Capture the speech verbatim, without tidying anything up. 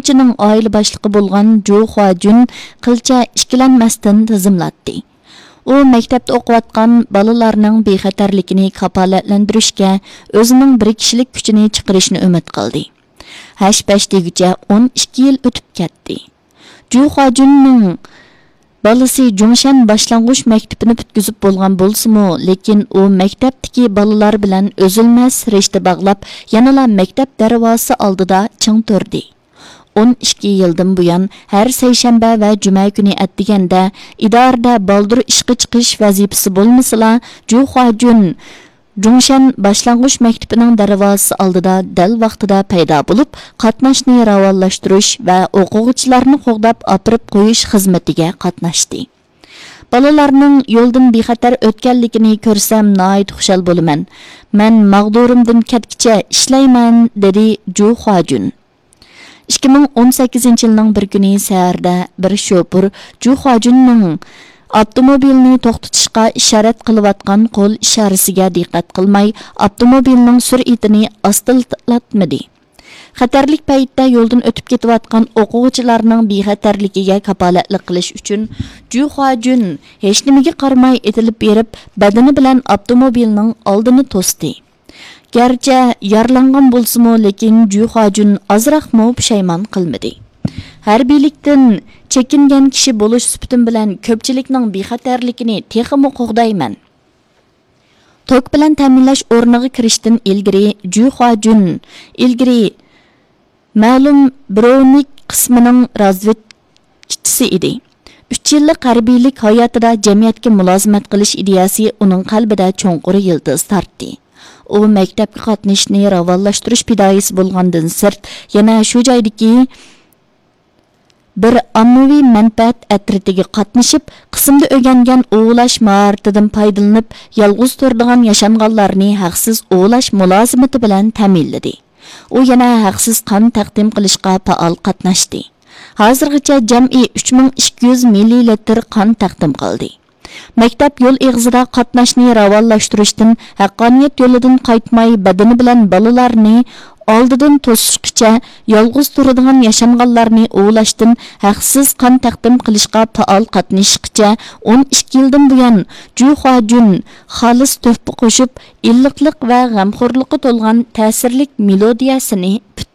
ئوقۇغۇچىنىڭ ئائىلە باشلىقى بولغان جۇ خۇاجۈن قىلچە ئىككىلەنمەستىن تىزىملاتتى. ئۇ مەكتەپتە ئوقۇۋاتقان بالىلارنىڭ بىخەتەرلىكىنى كاپالەتلەندۈرۈشكە ئۆزىنىڭ بىر كىشىلىك كۈچىنى چىقىرىشنى ئۈمىد قىلدى. ھەش-پەش دېگۈچە ئون ئىككى يىل ئۆتۈپ كەتتى. جۇ خۇاجۈننىڭ بالىسى جۇڭشەن باشلانغۇچ مەكتىپىنى پۈتكۈزۈپ بولغان بولسىمۇ، لېكىن ئۇ مەكتەپتىكى بالىلار بىلەن ئۈزۈلمەس رىشتە باغلاپ، يەنىلا مەكتەپ دەرۋازىسى ئالدىدا چىڭ تۇردى. ئون ئىككى يىلدىن بۇيان ھەر سەيشەنبە ۋە جۈمە كۈنى ئەتىگەندە ئىدارىدە بالدۇر ئىشقا چىقىش ۋەزىپىسى بولمىسىلا، جۇ خۇاجۈن جۇڭشەن باشلانغۇچ مەكتىپىنىڭ دەرۋازىسى ئالدىدا دەل ۋاقتىدا پەيدا بولۇپ، قاتناشنى راۋانلاشتۇرۇش ۋە ئوقۇغۇچىلارنى قوغداپ ئاپىرىپ قويۇش خىزمىتىگە قاتناشتى. بالىلارنىڭ يولدىن بىخەتەر ئۆتكەنلىكىنى كۆرسەم ناھايىتى خۇشال بولىمەن. مەن ماغدۇرۇمدىن كەتكىچە ئىشلەيمەن، دېدى جۇ خۇاجۈن. ئىككى مىڭ ئون سەككىزىنچى يىلنىڭ بىر كۈنى سەھەردە بىر شوپۇر جۇ خۇاجۈننىڭ ئاپتوموبىلنى توختىتىشقا ئىشارەت قىلىۋاتقان قول ئىشارىسىگە دىققەت قىلماي، ئاپتوموبىلنىڭ سۈرئىتىنى ئاستىلاتمىدى. خەتەرلىك پەيتتە يولدىن ئۆتۈپ كېتىۋاتقان ئوقۇغۇچىلارنىڭ بىخەتەرلىكىگە كاپالەتلىك قىلىش ئۈچۈن، جۇ خۇاجۈن ھېچنېمىگە قارىماي ئېتىلىپ بېرىپ، بەدىنى بىلەن ئاپتوموبىلنىڭ ئالدىنى توستى. گەرچە يارىلانغان بولسىمۇ، لېكىن جۇ خۇاجۈن ئازراقمۇ پۇشايمان قىلمىدى. ھەربىيلىكتىن چېكىنگەن كىشى بولۇش سۈپىتىم بىلەن كۆپچىلىكنىڭ بىخەتەرلىكىنى تېخىمۇ قوغدايمەن. توك بىلەن تەمىنلەش ئورنىغا كىرىشتىن ئىلگىرى جۇ خۇاجۈن ئىلگىرى مەلۇم بىرونىك قىسمىنىڭ رازۋېدكىچىسى ئىدى. ئۈچ يىللىق ھەربىيلىك ھاياتىدا جەمئىيەتكە مۇلازىمەت قىلىش ئىدىيەسى ئۇنىڭ قەلبىدە چوڭقۇر يىلتىز تارتتى. ئۇ مەكتەپكە قاتنىشىشنى راۋانلاشتۇرۇش پىدائىيسى بولغاندىن سىرت، يەنە شۇ جايدىكى بىر ئاممىۋى مەنپەئەت ئەترىتىگە قاتنىشىپ، قىسىمدا ئۆگەنگەن ئوۋلاش ماھارىتىدىن پايدىلىنىپ، يالغۇز تۇرىدىغان ياشانغانلارنى ھەقسىز ئوۋلاش مۇلازىمىتى بىلەن تەمىنلىدى. ئۇ يەنە ھەقسىز قان تەقدىم قىلىشقا پائال قاتناشتى. ھازىرغىچە جەمئىي ئۈچ مىڭ ئىككى يۈز مىللىلىتىر قان تەقدىم قىلدى. مەكتەپ يول ئېغىزىدا قاتناشنى راۋانلاشتۇرۇشتىن، ھەققانىيەت يولىدىن قايتماي، بەدىنى بىلەن بالىلارنى ئالدىدىن توسۇشقىچە، يالغۇز تۇرىدىغان ياشانغانلارنى ئوۋلاشتىن، ھەقسىز قان تەقدىم قىلىشقا پائال قاتنىشىشقىچە، ئون ئىككى يىلدىن بۇيان جۇ خۇاجۈن خالىس تۆھپە قوشۇپ، ئىللىقلىق ۋە غەمخورلۇققا تولغان تەسىرلىك مېلودىيەسىنى پۈت